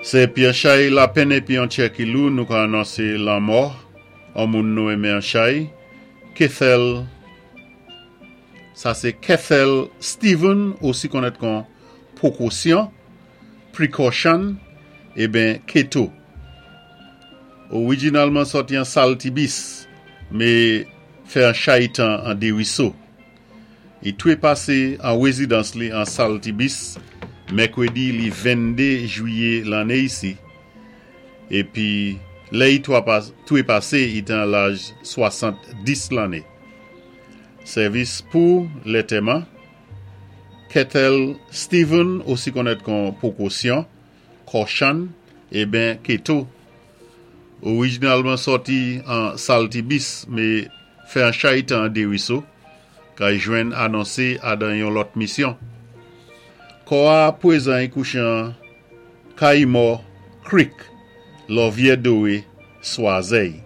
Sé épi an chay lapenn épi an tchè ki lou nou ka anonsé lanmò an moun nou enmen an chay, Kethel, sa sé Kethel Steven osi konnèt kon Pwokosyon, Precaution, eben Keto. Orijinalman sòti an Saltibis, mé fè an chay tan an Deriso. I twépasé an wézidans li an Saltibis mèkwédi li 22 jwiyé lanné isi épi lè i twépasé i té an laj 70 lanné. Sèvis pou lètèman, Kethel Steven osi konnèt kon Pwokosyon, Caution, eben Keto. Orijinalman sòti an Saltibis me fè an chay tan an Deriso kay jwenn anonse adan yon lòt misyon. Kò a pwezan y kouche an Kayimò Creek, Lòvyè Dowe, Swazèy.